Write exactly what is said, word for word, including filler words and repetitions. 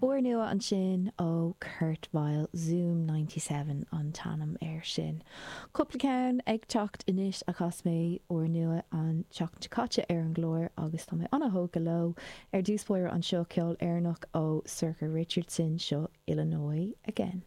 Úrnua ansin ó Kurt Vile Zoom ninety seven an t-ainm air sin. Cúpla ceann ag teacht anois a chas mé úrnua an tseachtain seo caite ar an gclár agus tá mé an-thógtha leo. Ar dtús báire anseo ceol Éireannach ó Sorcha Richardson, seo Illinois Again.